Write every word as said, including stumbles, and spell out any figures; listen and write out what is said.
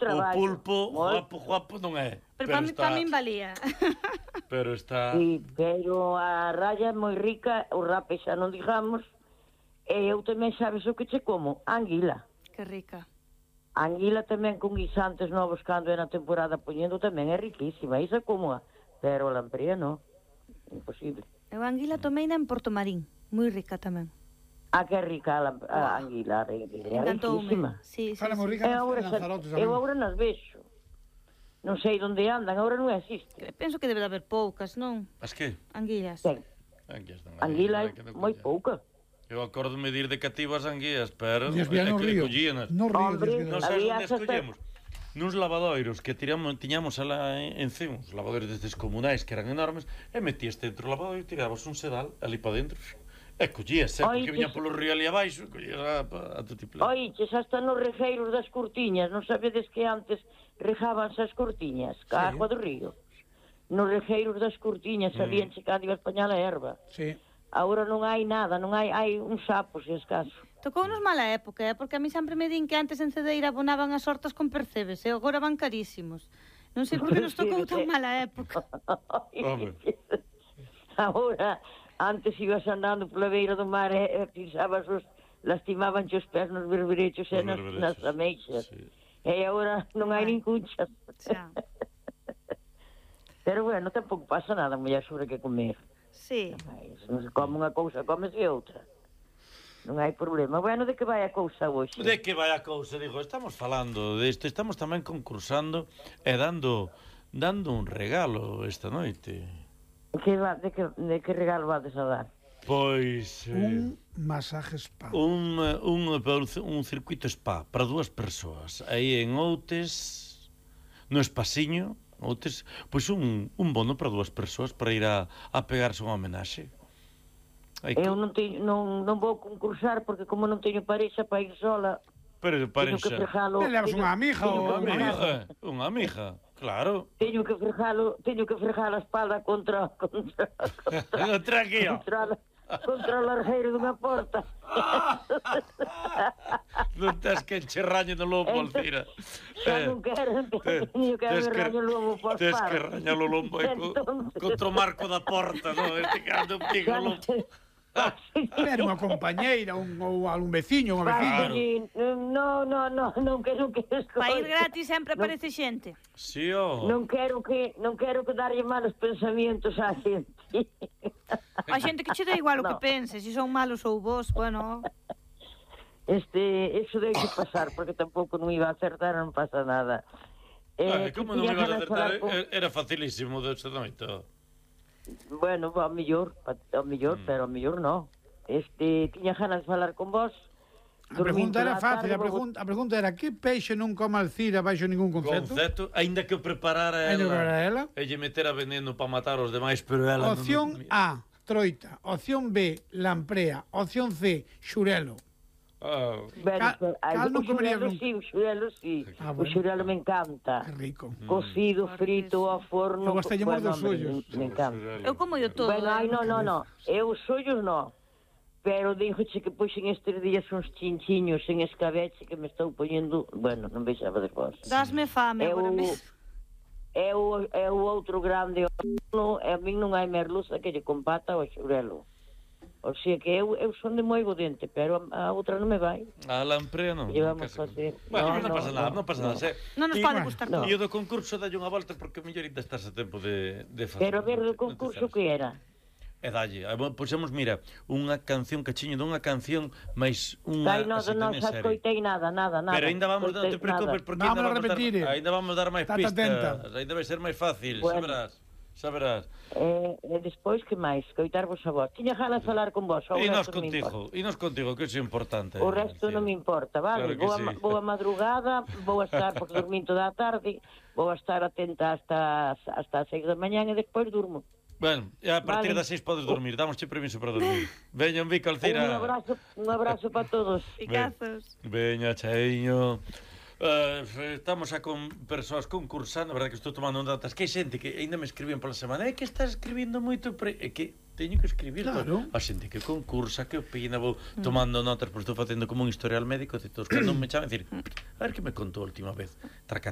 traballo. O pulpo, moito. guapo, guapo non é. Pero, pero para, está... para min valía. Pero está... Sí, pero a raya é moi rica, o rape xa non digamos, e eu tamén sabes o que che como? Anguila. Que rica. Anguila tamén con guisantes novos cando é na temporada poñendo tamén é riquísima, isa como a, pero a lamprea non, imposible. Eu a anguila tomei na en Portomarín, moi rica tamén. Ah, que rica a, a anguila, é riquísima. Sí, sí, Fala moi rica nas Lanzarotes. Eu agora nas vexo. Non sei onde andan, agora non existe. Penso que debe de haber poucas, non? As que? Anguilas. Ben, anguila é moi pouca. Eu acordo-me de ir de cativo as anguias, pero é que collíanas. No río. Non sabes onde as collemos? Nuns lavadoiros que tiramos, tiñamos alá encima, uns lavadoiros destes comunais que eran enormes, e metías dentro do lavadoiro e tirabas un sedal ali para dentro. E collías, eh, porque viña polo río ali abaixo, collías a, a tutiplén. Oiches, hasta nos regeiros das cortiñas, non sabedes que antes rejábanse as cortiñas, ca sí. Agua do río. Nos regeiros das cortiñas, mm. sabían checar iba a españar a erva. Sí. Agora non hai nada, non hai, hai un sapo, se escaso. Tocounos mala época, eh? Porque a mí sempre me din que antes en Cedeira abonaban as hortas con percebes, e agora van carísimos. Non sei por que nos tocou tan mala época. Agora... Antes ibas andando pola beira do mar e, e pisabas os... lastimaban os pés nos berberechos e nas, nas ameixas. Sí. E agora non hai nin cunchas. Pero bueno, tampouco pasa nada, mulher, sobre que comer. Sí. Non se come unha cousa, come-se outra. Non hai problema. Bueno, de que vai a cousa hoxe? De que vai a cousa, digo, estamos falando desto, estamos tamén concursando e dando dando un regalo esta noite. Que va, de, que, de que regalo vades a dar? Pois... Eh, un masaje spa. Un, un, un circuito spa para dúas persoas. Aí en Outes, no Espasiño, Outes, pois un, un bono para dúas persoas para ir a, a pegarse unha homenaxe. Aí eu non, teño, non, non vou concursar porque como non teño parexa para ir sola... Pero de parexa... Le levas unha amiga ou unha amiga? Unha amiga, claro. Teño que frejalo, teño que frejar a espalda contra... Contra, contra, contra aquí, ó. Contra, contra o largueiro dunha porta. Non tens que encherraño no lobo, Alcira. Xa non quero, teño que haber raño lobo por Tens que rañar o lombo contra o marco da porta, non? Este cando un pico o lobo. Pero unha compañeira, un, ou algún veciño, unha veciña. No, no, no, non quero que escoite. Para ir gratis sempre aparece xente. Si, ó. Non quero que, non quero que darlle malos pensamientos á xente. A xente que che dá igual o que pense, se son malos ou vos, bueno. Este, eso deixe pasar, porque tampouco non iba a acertar, non pasa nada. Eh, como non iba a acertar? Era facilísimo desta noite. Bueno, ao mellor, ao mellor, mm. pero ao mellor non. Este, tiña ganas de falar con vos. A pregunta era fácil, a pregunta, a pregunta era que peixe non come Alcira baixo ningún concepto? Concepto, aínda que o preparara ela. Ainda preparara ela. E lle metera veneno para matar os demais, pero ela... Opción non... A, troita. Opción B, lamprea. Opción C, xurelo. Ah. Bueno, cal, cal non comerías nunca? Sí, o xurelo sí. Ah, bueno. O xurelo me encanta. Que rico. Mm. Cocido, frito, ao forno. Eu gostei moi dos ollos. Me encanta. Eu como yo todo. Bueno, ai, non, non, non. Eu os ollos non. Pero dixoche que poxen estes días uns chinchiños en escabeche que me estou poñendo... Bueno, non vexaba de vos. Dasme fame agora mesmo. É o, é o outro grande horno, e a min non hai merluza que lle compata ao xurelo. O sea que eu, eu son de moi bodente, pero a, a outra non me vai. A lamprea non. Llevamos a facer. Bueno, non, non pasa nada, non pasa nada. Non nos pode gustar todo. E o do concurso dalle unha volta porque mellor ainda estás a tempo de, de facer. Pero a ver, do concurso que era? E dalle, pusemos, mira, unha canción cachiño dunha canción máis unha... Ai, non, non, xa escoitei nada, nada, nada. Pero ainda vamos, non te preocupes, porque vamos a repetir. Ainda vamos dar máis pistas. Ainda vai ser máis fácil, xa verás. Xa verás. Eh, e despois, que máis? Coitarvos a vos. Tiña ganas de falar con vos. E nos contigo, e nos contigo, que é importante. O resto non me importa, vale? Claro boa, sí. boa madrugada, vou a estar, porque dormín toda a tarde, vou a estar atenta hasta, hasta as seis da mañán e despois durmo. Bueno, a partir vale. das seis podes dormir, damos che permiso para dormir. Veña, un bico, Alcira. Un abrazo, un abrazo para todos. Picazos. Veña, chaiño. Uh, estamos a con persoas concursando, a verdade que estou tomando datas, que hai xente que ainda me escribían pola semana, é que estás escribindo moito, pre... é que teño que escribir, claro. A xente que concursa, que opina, vou tomando notas, porque estou facendo como un historial médico de todos, cando me chaman, decir, a ver que me contou a última vez, traca,